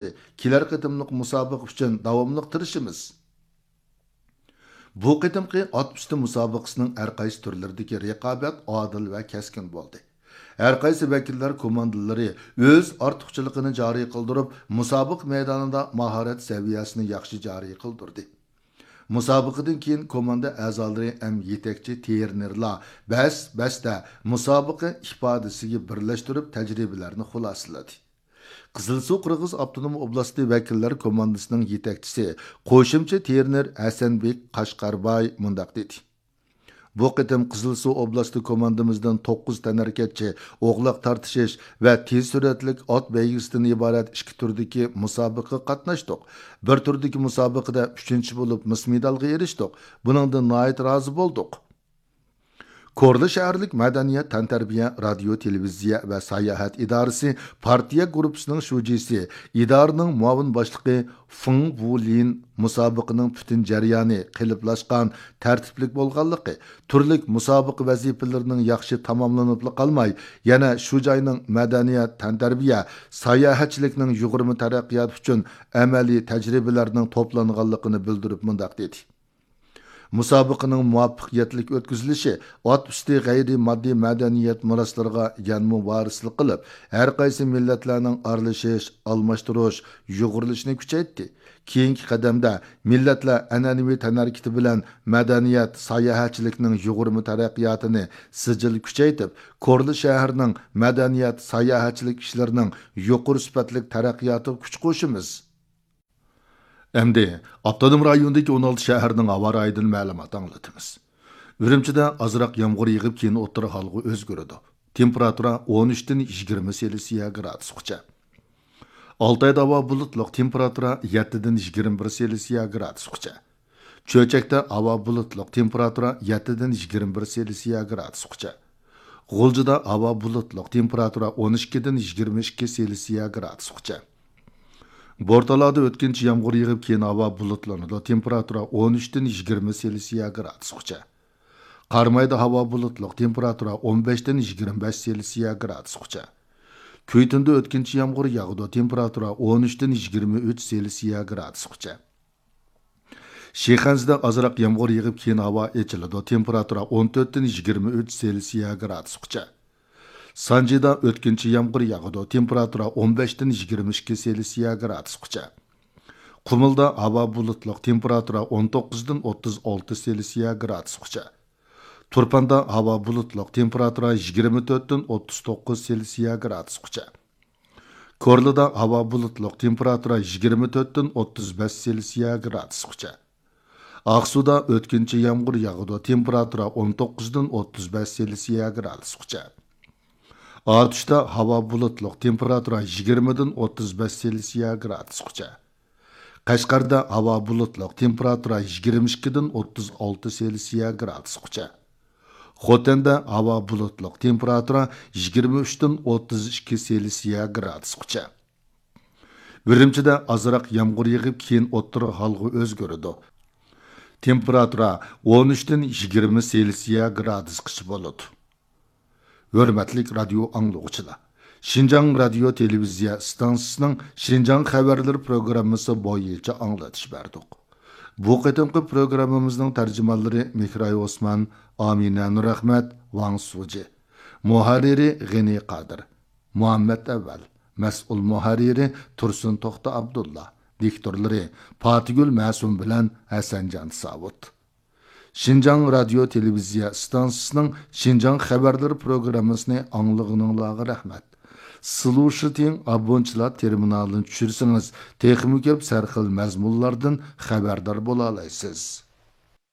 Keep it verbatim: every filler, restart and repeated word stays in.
كېلەر قېتىملىق مۇسابىقە ئۈچۈن داۋاملىق تىرىشىمىز. بۇ قېتىمقى ئات ئۈستى مۇسابىقىسىنىڭ ھەر قايسى تۈرلىرىدىكى رىقابەت ئادىل ۋە كەسكىن بولدى. ھەر قايسى ۋەكىللەر كوماندىلىرى ئۆز ئارتۇقچىلىقىنى جارى قىلدۇرۇپ، مۇسابىقە مەيدانىدا ماھارەت سەۋىيەسىنى ياخشى جارى قىلدۇردى. مۇسابىقىدىن كېيىن كوماندا ئەزالىرى ھەم يېتەكچى ترېنېرلار بەس-بەستە مۇسابىقە ئىپادىسىگە بىرلەشتۈرۈپ تەجرىبىلەرنى خۇلاسىلىدى. قىزىلسۇ قىرغىز ئاپتونوم ئوبلاستى ۋەكىللەر كوماندىسىنىڭ يېتەكچىسى، قوشۇمچە ترېنېر ھەسەنبېك قاشقارباي مۇنداق دېدى: بۇ قېتىم قىزىلسۇ ئوبلاستى كوماندىمىزدىن توققۇز تەنھەرىكەتچى ئوغلاق تارتىشىش ۋە تېز سۈرئەتلىك ئات بەيگىسىدىن ئىبارەت ئىككى تۈردىكى مۇسابىقىگە قاتناشتۇق. بىر تۈردىكى مۇسابىقىدە ئۈچىنچى بولۇپ، مىس مېدالغا ئېرىشتۇق. بۇنىڭدىن ناھايىتى رازى بولدۇق. كورلا شەھەرلىك مەدەنىيەت، تەنتەربىيە، رادىيو، تېلېۋىزىيە ۋە ساياھەت ئىدارىسى پارتىيە گۇرۇپپىسىنىڭ شۇجىسى، ئىدارىنىڭ مۇئاۋىن باشلىقى فېڭ ۋۇلىن مۇسابىقىنىڭ پۈتۈن جەريانى قېلىپلاشقان، تەرتىپلىك بولغانلىقى، تۈرلۈك مۇسابىقە ۋەزىپىلىرىنىڭ ياخشى تاماملىنىپلا قالماي، يەنە شۇ جاينىڭ مەدەنىيەت، تەنتەربىيە، ساياھەتچىلىكنىڭ يۇغۇرما تەرەققىياتى ئۈچۈن ئەمەلىي تەجرىبىلەرنىڭ توپلانغانلىقىنى بىلدۈرۈپ مۇنداق دېدى: مۇسابىقىنىڭ مۇۋەپپەقىيەتلىك ئۆتكۈزۈلۈشى ئات ئۈستى غەيرىي ماددىي مەدەنىيەت مىراسلىرىغا يەنىمۇ ۋارىسلىق قىلىپ، ھەر قايسى مىللەتلەرنىڭ ئارىلىشىش، ئالماشتۇرۇش، يۇغۇرۇلۇشىنى كۈچەيتتى. كېيىنكى قەدەمدە مىللەتلەر ئەنئەنىۋى تەنھەرىكىتى بىلەن مەدەنىيەت، ساياھەتچىلىكنىڭ يۇغۇرما تەرەققىياتىنى سىجىل كۈچەيتىپ، كورلا شەھىرىنىڭ مەدەنىيەت، ساياھەتچىلىك ئىشلىرىنىڭ يۇقىرى سۈپەتلىك تەرەققىياتىغا كۈچ قوشىمىز. ئەمدى ئاپتونوم رايوندىكى ئون ئالتە شەھەرنىڭ ھاۋا رايىدىن مەلۇمات ئاڭلىتىمىز. ئۈرۈمچىدە ئازراق يامغۇر يېغىپ، كېيىن ئوتتۇرا ھالغا ئۆزگىرىدۇ. تېمپېراتۇرا ئون ئۈچتىن يىگىرمە سېلسىيە گرادۇسقىچە. ئالتايدا ھاۋا بۇلۇتلۇق، تېمپېراتۇرا يەتتىدىن يىگىرمە بىر سېلسىيە گرادۇسقىچە. چۆچەكتە ھاۋا بۇلۇتلۇق، تېمپېراتۇرا يەتتىدىن يىگىرمە بىر سېلسىيە گرادۇسقىچە. غۇلجىدا ھاۋا بۇلۇتلۇق، تېمپېراتۇرا ئون ئىككىدىن يىگىرمە ئىككى سېلسىيە گرادۇسقىچە. بورتالادا ئۆتكۈنچى يامغۇر يېغىپ، كېيىن ھاۋا بۇلۇتلىنىدۇ، تېمپېراتۇرا ئون ئۈچتىن يىگىرمە سېلسىيە گرادۇسقىچە. قارامايدا ھاۋا بۇلۇتلۇق، تېمپېراتۇرا ئون بەشتىن يىگىرمە بەش سېلسىيە گرادۇسقىچە. كۈيتۇندا ئۆتكۈنچى يامغۇر ياغىدۇ، تېمپېراتۇرا ئون ئۈچتىن يىگىرمە ئۈچ سېلسىيە گرادۇسقىچە. شىخەنزىدە ئازراق يامغۇر يېغىپ، كېيىن ھاۋا ئېچىلىدۇ، تېمپېراتۇرا ئون تۆتتىن يىگىرمە ئۈچ سېلسىيە گرادۇسقىچە. سانجىدا ئۆتكۈنچى يامغۇر ياغىدۇ، تېمپېراتۇرا ئون بەشتىن يىگىرمە ئىككى سېلسىيە گرادۇسقىچە. قۇمۇلدا ھاۋا بۇلۇتلۇق، تېمپېراتۇرا ئون توققۇزدىن ئوتتۇز ئالتە سېلسىيە گرادۇسقىچە. تۇرپاندا ھاۋا بۇلۇتلۇق، تېمپېراتۇرا يىگىرمە تۆتتىن ئوتتۇز توققۇز سېلسىيە گرادۇسقىچە. كورلىدا ھاۋا بۇلۇتلۇق، تېمپېراتۇرا يىگىرمە تۆتتىن ئوتتۇز بەش سېلسىيە گرادۇسقىچە. ئاقسۇدا ئۆتكۈنچى يامغۇر ياغىدۇ، تېمپېراتۇرا ئون توققۇزدىن ئوتتۇز بەش سېلسىيە گرادۇسقىچە. ئاتۇشتا ھاۋا بۇلۇتلۇق، تېمپېراتۇرا يىگىرمىدىن ئوتتۇز بەش سېلسىيە گرادۇسقىچە. قەشقەردە ھاۋا بۇلۇتلۇق، تېمپېراتۇرا يىگىرمە ئىككىدىن ئوتتۇز ئالتە سېلسىيە گرادۇسقىچە. خوتەندە ھاۋا بۇلۇتلۇق، تېمپېراتۇرا يىگىرمە ئۈچتىن ئوتتۇز ئىككى سېلسىيە گرادۇسقىچە. ئۈرۈمچىدە ئازراق يامغۇر يېغىپ، كېيىن ئوتتۇرا ھالغا ئۆزگىرىدۇ. تېمپېراتۇرا ئون ئۈچتىن يىگىرمە سېلسىيە گرادۇسقىچە بولىدۇ. ھۆرمەتلىك رادىيو ئاڭلىغۇچىلار! شىنجاڭ رادىيو تېلېۋىزىيە ئىستانسىسىنىڭ شىنجاڭ خەۋەرلىرى پروگراممىسى بويىچە ئاڭلىتىش بەردۇق. بۇ قېتىمقى پروگراممىمىزنىڭ تەرجىمانلىرى مېھراي ئوسمان، ئامىنە نۇرئەخمەت، ۋاڭ سۇجى. مۇھەررىرى غېنى قادىر. مۇھەممەت ئەۋۋەل. مەسئۇل مۇھەررىرى تۇرسۇن توختى ئابدۇللا. دىكتورلىرى پاتىگۈل مەسۇم بىلەن ھەسەنجان ساۋۇت. شىنجاڭ رادىيو تېلېۋىزىيە ئىستانسىسىنىڭ شىنجاڭ خەۋەرلىرى پروگراممىسىنى ئاڭلىغىنىڭلارغا رەھمەت. سلۇشىتىڭ ئابونتچىلار تېرمىنالىنى چۈشۈرسىڭىز، تېخىمۇ كۆپ سەرخىل مەزمۇنلاردىن خەۋەردار بولالايسىز.